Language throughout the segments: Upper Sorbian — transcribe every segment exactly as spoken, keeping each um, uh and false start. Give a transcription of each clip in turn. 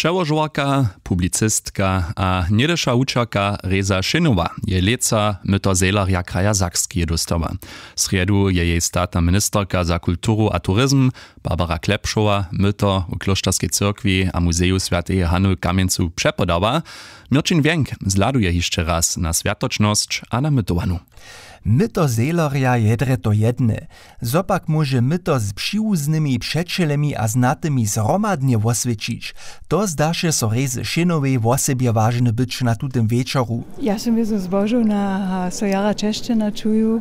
Přełožowarka, publicistka a něhdyša wučerka Reza Šěnowa je lětsa myto Zehlerja kraja Sakskeje dóstała. W srjedu je jej statna ministerka za kulturu a turizm Barbara Klepšowa myto w klóšterskej cyrkwi a muzeju swjateje Hany w Kamjencu přepodała. Měrćin Wjenk zhladuje hišće raz na swjatočnosć a na mytowanu. Myto Zehlerja je drje to jedne. Zo pak móže myto z přiwuznymi přećelemi a znatymi zhromadnje woswjećić? To zdaše so Rezy Šěnowej wosebje wažne być na tutym wječoru. Ja sym wězo zbožowna a so jara česćena čuju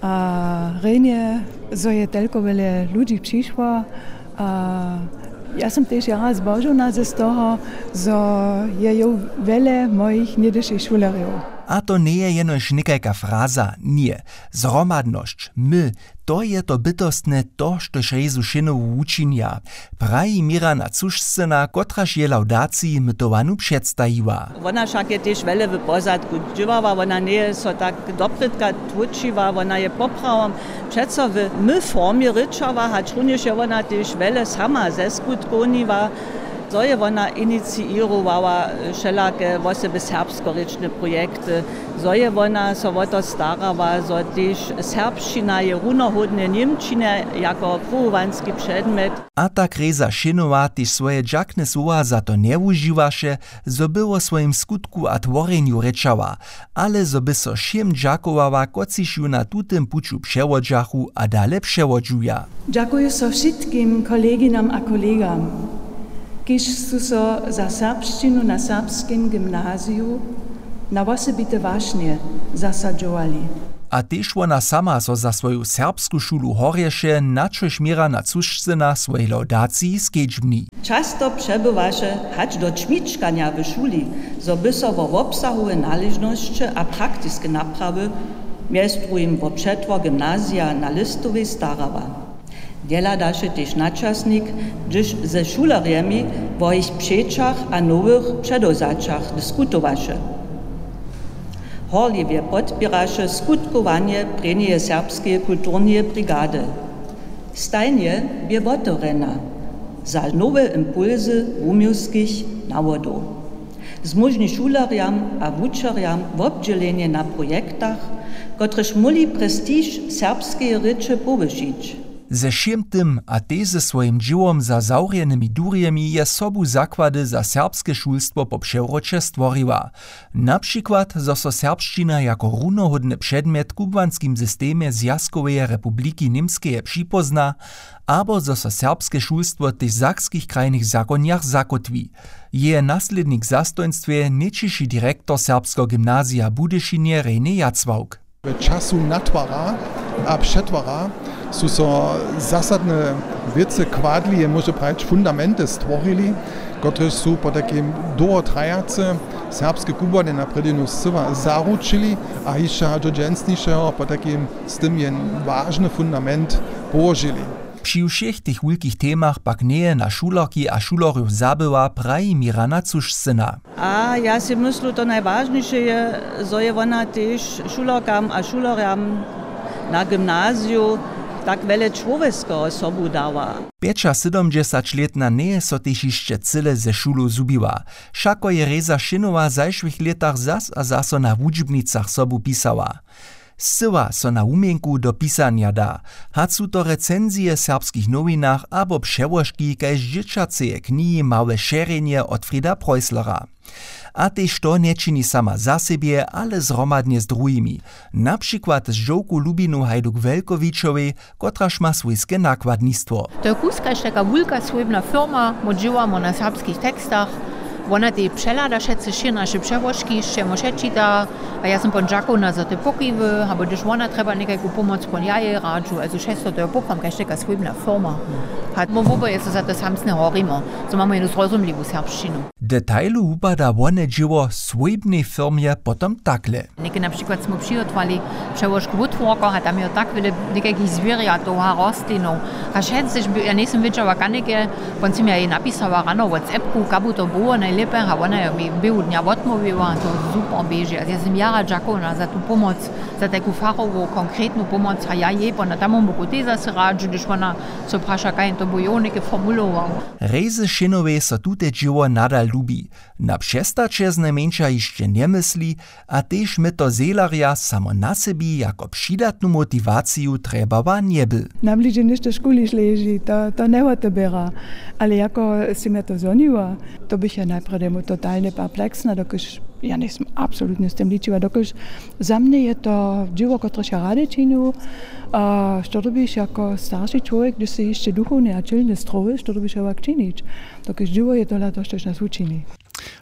a rjenje, zo je telko wjele ludźi přišło. A ja sym tež jara zbožowna z toho, zo je jow wjele mojich něhdyšich šulerjow. A to njeje jenož někajka fraza, ně. Zhromadnosć, my, to je to bytostne, to štož Rezu Šěnowu wučinja, praji Mirana Cušcyna, kotraž je lawdaciji mytowanu předstajiła. Wona wšak je tež wjele w pozadku dźěłała, wona njeje so tak doprědka tłóčiła, wona je poprawom přeco w my formje rěčała, hač runjež je wona tež wjele sama zeskutkowniła, zo je wona iniciěrowała wšelake wosebje serbskorěčne projekty, zo je wona so wo to starała, zo tež serbšćina je runohódnje němčinje jako powołanski předmjet. A tak Reza Šěnowa tež swoje dźakne słowa za to njewužiwaše, zo by wo swojim skutku a tworjenju rěčała, ale zo by so wšěm dźakowała, kotřiž ju na tutym puću přewodźachu a dale přewodźuja. Dźakuju so wšitkim koleginjam a kolegam, kiž su so za serbšćinu na Serbskim gymnaziju na wosebite wašnje zasadźowali. A tež wona sama so za swoju serbsku šulu horješe, na čož Mirana Cušcyna w swojej lawdaciji skedźbni. Často přebywaše hač do čmičkanja w šuli, zo by so wo wobsahowe naležnosće a praktiske naprawy, mjez druhim wo přetwor gymnazija na Lěstowej, starała. Njehladawše tež načasnik, hdyž ze šulerjemi wo jich přećach a nowych předewzaćach diskutowaše. Horliwje podpěraše skutkowanje prěnjeje serbskeje kulturneje brigady. Stajnje bě wotewrjena za nowe impulsy wuměłskich nawodow. Zmóžni šulerjam a wučerjam wobdźělenje na projektach, kotrež móhli prestiž serbskeje rěče powyšić. Ze wšěm tym a tež ze swojim dźěłom za zawrjenymi durjemi je sobu zakłady za serbske šulstwo po přewróće stworiła. Na přikład, zo so serbšćina jako runohódny předmjet w kubłanskim systemje Zwjazkoweje republiki Němskeje připózna, abo zo so serbske šulstwo tež w sakskich krajnych zakonjach zakótwi. Jeje naslědnik w zastojnstwje, nětšiši direktor Serbskeho gymnazija w Budyšinje Rejny Jacławk. W času natwara a přetwara su so zasadne wěcy kładli, je móže prajić fundamenty stworili, kotrež su potajkim dołho trajace serbske kubłanje na prědźenu scyła zaručili a hišće hač do dźensnišeho potajkim z tym jen wažny fundament połožili. Při wšěch tych wulkich temach pak njeje na šulerki a šulerjow zabyła, praji Mirana Cušcyna. A ja sej myslu, to najwažniše je, zo je wona tež šulerkam a šulerjam na gymnaziju tak wjele čłowjeskeho sobu dała. Pjećasydomdźesaćlětna njeje so tež hišće cyle ze šulow zhubiła. Wšako je Reza Šěnowa w zašłych lětach zas a zaso na wučbnicach sobu pisała. Scyła so na wuměnku do pisanja da, hač su to recenzije w serbskich nowinach abo přełožki kaž dźěćaceje knihi Małe šerjenje Otfrieda Preusslera. A tež to nječini sama za sebje, ale zhromadnje z druhimi, na přikład z dźowku Lubinu Hajduk-Welkowićowej, kotraž ma swójske nakładnistwo. To je kuskaž taka wulka swójbna firma, my dźěłamo na serbskich tekstach. Wona tej přehlada wšetcy wšě naše přełožki, sće mo wšetčita. A ja sym pon dźakowna za te pokiwy, abo hdyž wona trjeba někajku pomoc, pon ja jej radźu. Also wšesto to je poprawom kaž taka swójbna firma. A my woboje so za to samsne horimo, zo mamy jednu zrozumliwu serbšćinu. Detailu wupada wone dźěło w swójbnej firmje potom takle. Něke na přikład smy přihotowali přełožku wótworkow a tam jo tak wjele někajkich zwěrjatow a rostlinow. A wšetc tež ja njejsym wědźała kanike, wón sym ja jej napisała rano whatsappku kabu to było najlěpje a wona jo mi běhu dnja wotmołwiła a to super běži a ja sym jara dźakowna za tu pomoc, za tajku fachowu konkretnu pomoc a ja jej pona tamom boku tež zasy radźu hdyž wona so praša kaž jen to bu jo něke formulował. Rejzy šinowej so tute dźěło nadal lubi. Na přestaće znajmjeńša hišće njemysli, a tež myto zehlerja samo na sebi jako přidatnu motiwaciju trjebała njeby. Nam bliže něšto škuliš leži to to njewoteběra. Ale jako sym ja to zhoniła, to bych ja najprjedy mu totalnje perpleksna dokelž ja njejsym absolutnje z tym ličiła dokelž za mnje je to dźěło kotrež ja rady činju. A što dyrbiš jako starši čłowjek hdyž sy hišće duchowny a ćělny strowy što dyrbiš hewak činić? Dokelž dźěło je tola to štož nas wučini.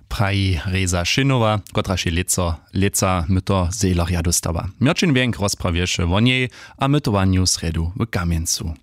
Praji reza šinowa, kotraž je lětso lětsa myto zehlerja dóstała. Mjorćin wjenk rozprawješe wo njej a mytowanju w srjedu w kamjencu.